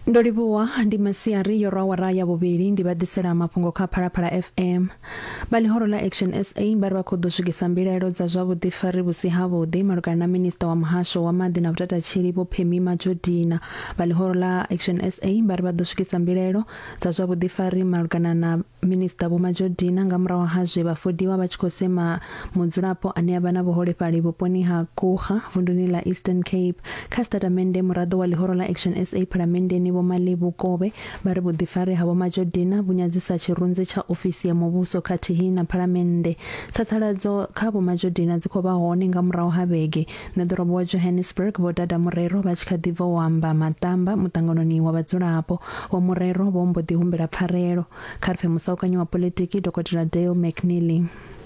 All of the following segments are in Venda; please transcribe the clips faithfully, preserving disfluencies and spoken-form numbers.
Ndo livhuwa ndi masiari yo rwa awara ya vhuvhili ndi vha ḓisela mafhungo kha Phalaphala F M. Vha ḽihoro ḽa Action S A vha ri vha khou ḓo swikisa mbilaelo dza zwa vhuḓifari vhusi havhuḓi malugana na minista wa muhasho wa maḓi na vhutatatshili Vho Pemmy Majodina. Vha ḽihoro ḽa Action S A vha ri vha ḓo swikisa mbilaelo dza zwa vhuḓifari malugana na minista Vho Majodina nga murahu ha zwe vha fodiwa vha tshi khou sema mudzulapo ane a vha na vhuholefhali vhuponi ha Kruger vunduni ḽa Eastern Cape. Kha sitatamennde muraḓo wa ḽihoro ḽa Action S A phalamenndeni Vho Malebo Kobe vha ri vhuḓifari ha Vho Majodina vhu nyadzisa tshirunzi tsha ofisi ya muvhuso khathihi na phalamennde. Tsatsaladzo kha Vho Majodina dzi khou vha hone nga murahu ha vhege ṋeḓorobo wa Johannesburg Vho Dada Morero vha tshi kha ḓi bva u amba maṱamba muṱanganoni wa vhadzulapo. Vho Morero vho mbo ḓi humbela pfarelo. Kha ri pfe musaukanyi wa politiki Dokotela Dale McNeely.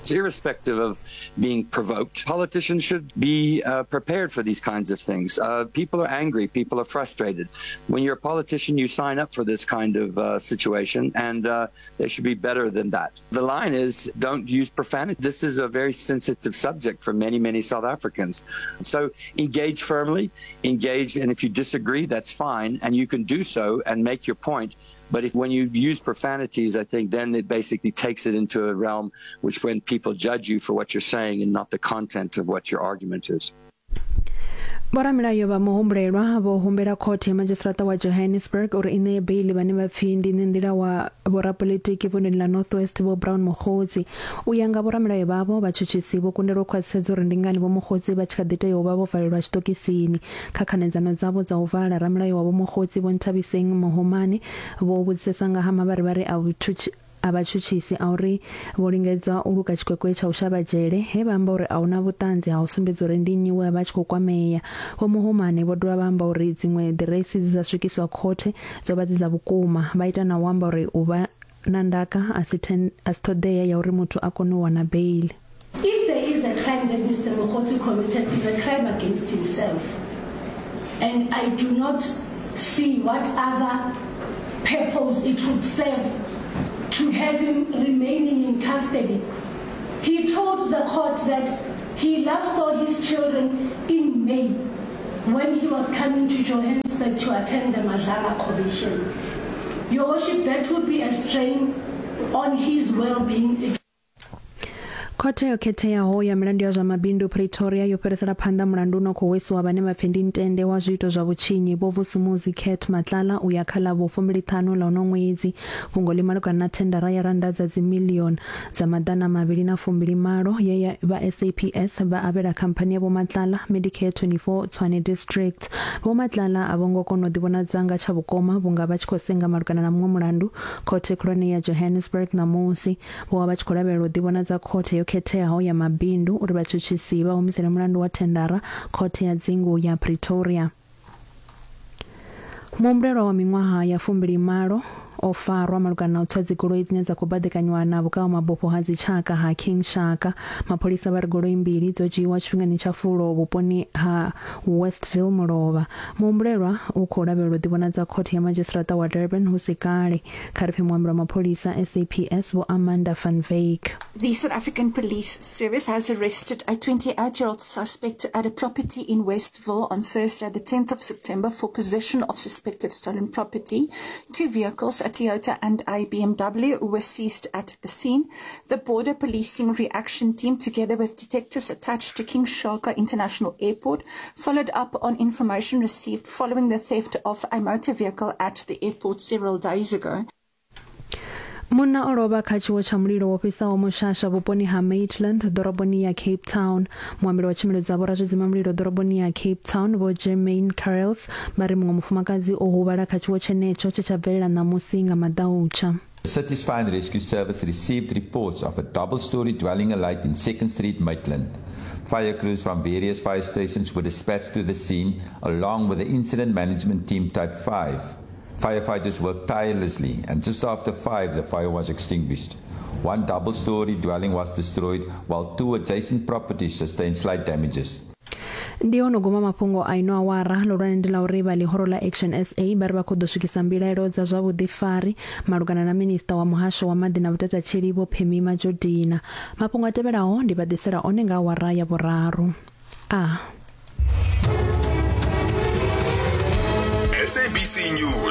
Irrespective of being provoked, politicians should be uh, prepared for these kinds of things. Uh, people are angry, people are frustrated. When you're a politician, you sign up for this kind of uh, situation, and uh, they should be better than that. The line is, don't use profanity. This is a very sensitive subject for many, many South Africans. So engage firmly, engage, and if you disagree, that's fine, and you can do so and make your point. But if when you use profanities, I think then it basically takes it into a realm which when people judge you for what you're saying and not the content of what your argument is. Vhoramilayo vha muhumbulelwa vho humbela khothe ya madzhisiṱiraṱa wa Johannesburg uri i ṋee beili vhane vha pfi ndi nḓila wa vhorapolitiki vunduni ḽa North West Vho Brown Mogotsi. U ya nga vhoramilayo vhavho, vhatshutshisi vho kundelwa u khwaṱhisedza uri ndi ngani Vho Mogotsi vha tshi kha ḓi tea u vha vho valelwa tshiṱokisini. Kha khanedzano dzavho dza u vala, ramilayo wa Vho Mogotsi Vho Nthabiseng Mohomane vho vhudzisesa nga ha mavharivhari a vhutshutshi a vhatshutshisi a uri vho lingedza u luka tshikwekwe tsha u shavha dzhele, he vha amba uri a huna vhuṱanzi ha u sumbedza uri ndi nnyi we a vha tshi khou kwamea. Vho Mohomane vho dovha vha amba uri dziṅwe ḓiresi dzi sa swikiswa khothe dzo vha dzi dza vhukuma, vha ita na u amba uri u vha na ndaka a si ṱhoḓea ya uri muthu a kone u wana beili. If there is a crime that Mister Mogotsi committed, is a crime against himself, and I do not see what other purpose it would serve to have him remaining in custody. He told the court that he last saw his children in May when he was coming to Johannesburg to attend the Madlanga Commission. Your Worship, that would be a strain on his well-being. Khothe yo khetheaho ya milandu ya zwa mabindu Pretoria yo fhirisela phanḓa mulandu no khou hwesiwa vhane vha pfi ndi ntende wa zwiito zwa vhutshinyi Vho Vusumuzi Cat Matlala u ya kha ḽa vhu fumbili ṱhanu ḽa uno ṅwedzi. Fhungo ḽi malugana na thendara ya rannda dza dzimilioni dza maḓana mavhili na fumbili malo ye ya vha S A P S vha avhela khamphani ya Vho Matlala Medicare twenty-four Tshwane District. Vho Matlala a vho ngo kona u ḓivhonadza nga tsha vhukoma vhunga vha tshi khou senga malugana na muṅwe mulandu khothe khulwane ya Johannesburg ṋamusi. Vho vha vha tshi khou lavhelela u ḓivhonadza khothe yo khetheaho ya mabindu uri vhatshutshisi vha humisele mulandu wa thendara khothe ya dzingu ya Pretoria. Muhumbulelwa wa miṅwaha ya fumbili malo o farwa malugana na u tswa dzigoloi dzine dza khou baḓekanywa na vhukavha mabufho ha dzitshaka ha King Shaka. Mapholisa vha ri goloi mbili dzo dzhiiwa tshifhingani tsha fulo vhuponi ha Westville Mulovha. Muhumbulelwa u khou lavhelelwa u ḓivhonadza khothe ya madzhisiṱiraṱa wa Durban hu si kale. Kha ri pfe muambeli wa mapholisa S A P S Vho Amanda van Wyk. The South African Police Service has arrested a twenty-eight-year-old suspect at a property in Westville on Thursday, the tenth of September, for possession of suspected stolen property. Two vehicles, a Toyota and a B M W, were seized at the scene. The Border Policing Reaction Team, together with detectives attached to King Shaka International Airport, followed up on information received following the theft of a motor vehicle at the airport several days ago. Munna o lovha kha tshiwo tsha mulilo wo fhisaho mushasha vhuponi ha Maitland ḓoroboni ya Cape Town. Muambeli wa tshumelo dza vhorazwidzima mulilo ḓoroboni ya Cape Town Vho Jermaine Carrels vha ri muṅwe mufumakadzi o huvhala kha tshiwo tshenetsho tshe tsha bvelela ṋamusi nga maḓautsha. City's Fire and Rescue Service received reports of a double-story dwelling alight in Second Street, Maitland. Fire crews from various fire stations were dispatched to the scene along with the Incident Management Team Type five. Firefighters worked tirelessly, and just after five, the fire was extinguished. One double-story dwelling was destroyed, while two adjacent properties sustained slight damages. Ndi ono guma mafhungo a ino awara ḽihulwane ndi ḽa uri vha ḽihoro ḽa Action S A vha ri vha khou ḓo swikisa mbilaelo dza zwa vhuḓifari malugana na minista wa muhasho wa maḓi na vhutatatshili Vho Pemmy Majodina. Mafhungo a tevhelaho ndi vha ḓisela one nga awara ya vhuraru. A S A B C News.